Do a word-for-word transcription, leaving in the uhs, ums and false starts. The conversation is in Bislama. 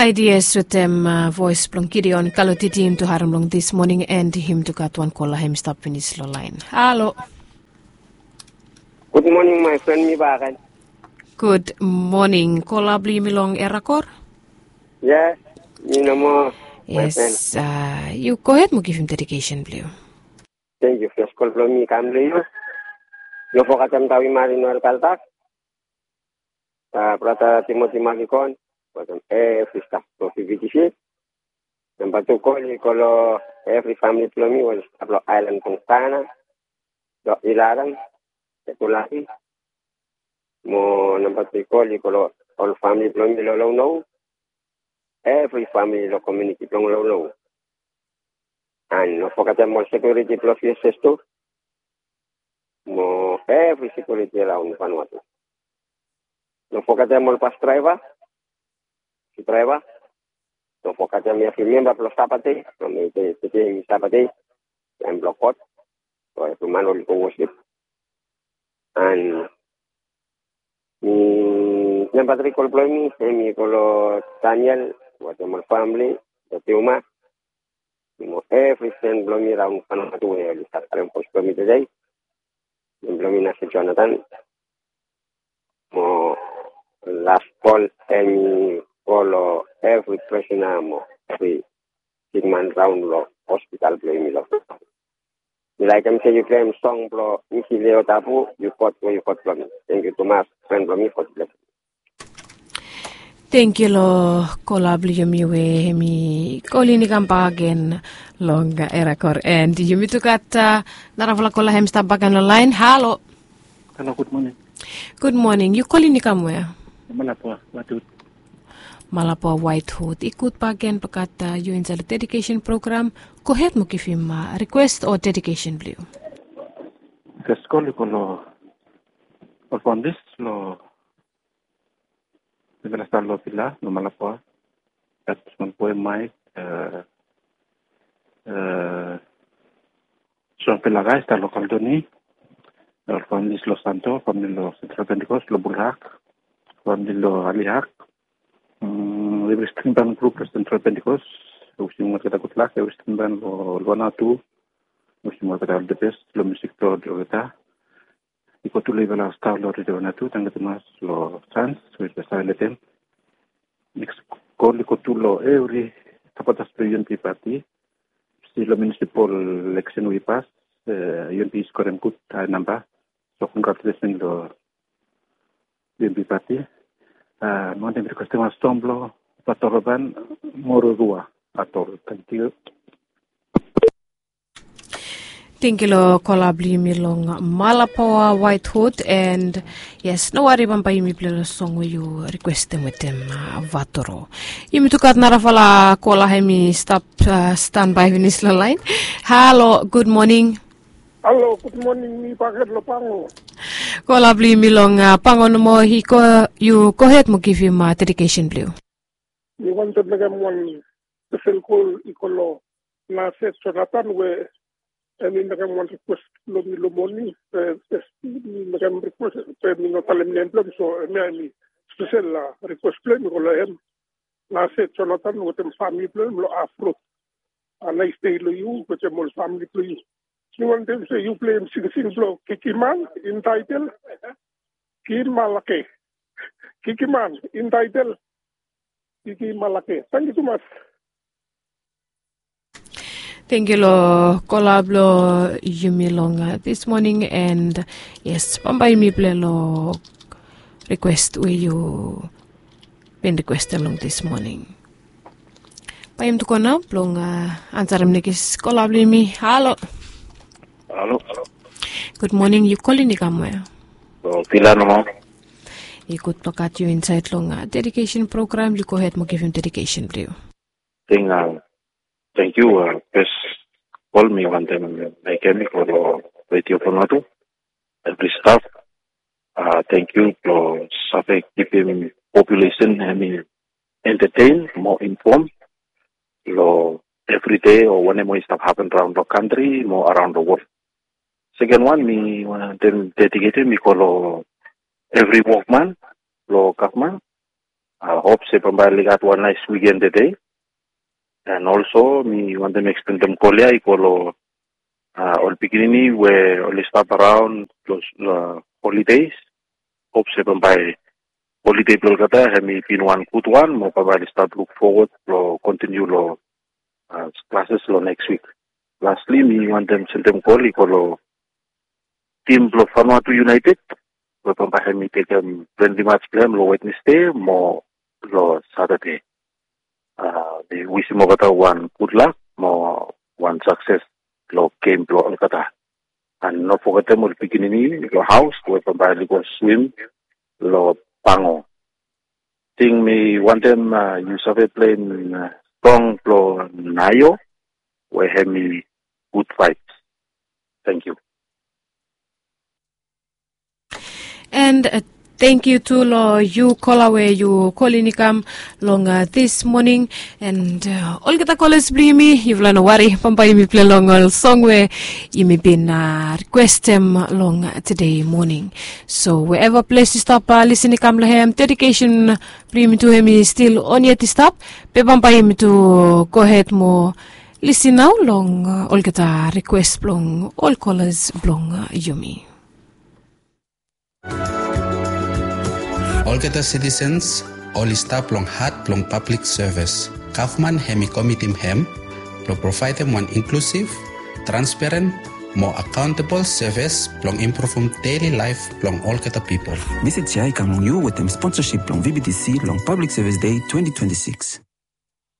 Ideas wetem voes blong Gideon Kalotiti yumi tu harem long this morning, and yumi tu gat wan kola hem i stap finis long lain. Halo. Good morning my friend, mi bagen. Good morning. Kola blong yumi long Erakor? Yes, mi nomo. Yes, uh, yu go ahead mo givim dedication blong yu. Thank you. First call blong mi kam long yu. Yu fogatem tawi mari noel kaltak. Brata Timoti Magikon, wetem evri staf blong V V T C. Namba tu kol i go long evri famili blong mi we i stap long aelan blong Saina, long Ilaran, Ekulaki. Mo namba tri kol i go long ol famili blong mi long Lounou, evri famili long komuniti blong Lounou. An no fogetem ol sekiuriti blong V S S tu. Mo evri sekiuriti raon Vanuatu. No fogetem ol bas draeva, bas draeva. No fogetem evri memba blong Sabbath Day, from tede mi Sabbath Day, taem blong God, blong evri man oli go wosip. An mi namba tri kol blong mi, hem i go long Daniel wetem ol famili, long Tiuma. Mo evri fren blong mi raon Vanuatu we oli stap harem vos blong mi tede. Nem blong mi na se Jonathan. Mo las kol hem i go long evri prisona mo evri sikman raon long hospital blong yumi long. Mi laekem se yu pleim song blong Misi Leo Tabu, yu God we yu God blong mi. Tangkiu tumas fren blong mi, God bless. Tangkiu long kola blong yumi we hem i kolin i kambak gen long Erakor, and yumi tu gat narafala kola hem i stap bak gen long laen. Halo. Halo, gud moning. Gud moning. Yu kolin i kam wea? Malapua, Waithut. Malapua, Waithut. I gud bak gen blong gat yu insaed long dedikesen program. Gohed mo givim rikwes o dedikesen blong yu. Fes kol i go long ol familis long Mifala i stap long vila long Malapua. Gat smol boe Maek, Soang Pelaga i stap long Kaldoni. Ol familis long Santo, famili long Sentral Pentikos long Bulhak, famili long Alihak. Evri stringban grup long Sentral Pentikos, wisim olgeta gudlak. Evri stringban long Luana tu, wisim olgeta olgeta bes long musik blong olgeta. I go tu long yufala stap long Ridwan tu, tangkiu tumas long sans we yufala save letem. Neks kol i go tu long evri sapotas blong UNP pati. Stil long munisipal eleksen we i pas, UNP i skorem gud hae namba. So kongratulesen long UNP pati. Mi wantem rikwestem wan song blong Patoroban, Mororua, Atol. Tangkiu. Tangkiu long kola blong yumi long Malapawa White Hood, and yes, no wari, bambae yumi pilai long song we yu rikwestem wetem Vatoro. Yumi tu gat narafala kola hem i stap stanbae finis long laen. Halo, gud moning. Halo, gud moning, mi bakegen long Pango. Kola blong yumi long Pango nomo, yu gohed mo givim dedikesen blong yu. Mi wantem mekem wan spesel kol i go long Nase Jonathan we hem i mekem wan rikwes long mi long moning. Be mi mekem rikwes be mi no talem nem blong hem, so hemia hem i spesel rikwes blong hem i go long hem. Nase Jonathan wetem famili blong hem long Afrot. Nais dei long yu wetem ol famili blong yu. Mi wantem se yu pleim singsing blong Kikiman, intaetel Kimalake. Kikiman, intaetel Kikimalake. Tangkiu tumas. Tangkiu long kola blong yumi long this moning, and yes, bambae yumi pilai long rikwes we yu bin rikwestem long this moning. Bae yumi tu go nao blong ansarem nekis kola blong yumi. Halo. Halo. Gud moning, yu kolin i kam wea? Long Pila nomo. I gud blong gat yu insaed long dedikesen program. Yu gohed mo givim dedikesen blong yu. Ting Tangkiu. Fes kol mi wantem mekem i go long Redio Vanuatu, evri staf. Tangkiu blong save kipim populesen hem i entetein mo infom long evride o wanem we i stap hapen raon long kantri mo araon long wol. Seken wan mi wantem dediketem i go long evri wokman long gavman. Hop se bambae oli gat wan naes wiken tede. And also mi wantem ekstendem kol ya i go long ol pikinini we oli stap araon long holidays. Hop se bambae holide blong olgeta hem i bin wan gud wan mo bambae oli stap luk fowod blong kontiniu long klases long neks wik. Lastli mi wantem sendem kol i go long tim blong Vanuatu United we bambae hem i tekem frendli mats blong hem long Wednesde mo long Satade. Mi wisim olgeta wan gudlak mo wan sakses long gem blong olgeta. And no fogetem ol pikinini long haos we bambae oli go swim long Pango. Ting mi wantem yu save plem song blong Nayo we hem i gud vibes. Tangkiu. And tangkiu tu long yu kola we yu kolin i kam long dis moning. And olgeta kolas blong yumi, yufala no wari, bambae yumi pilai long ol song we yumi bin rikwestem long tede moning. So wherever ples yu stap lisin i kam long hem, dedikesen blong yumi tu hem i stil on yet i stap. Be bambae yumi tu gohed mo lisin nao long olgeta rikwes blong ol kolas blong yumi. Olgeta sitisens oli stap long hat blong pablik sevis. Gavman hem i komitim hem blong provaedem wan inklusiv, transparen mo akaontabol sevis blong impruvum deli laef blong olgeta pipol. Mesej ya i kam long yu wetem sponsasip blong VBTC long Pablik Sevis Dei twenti twenti sikis.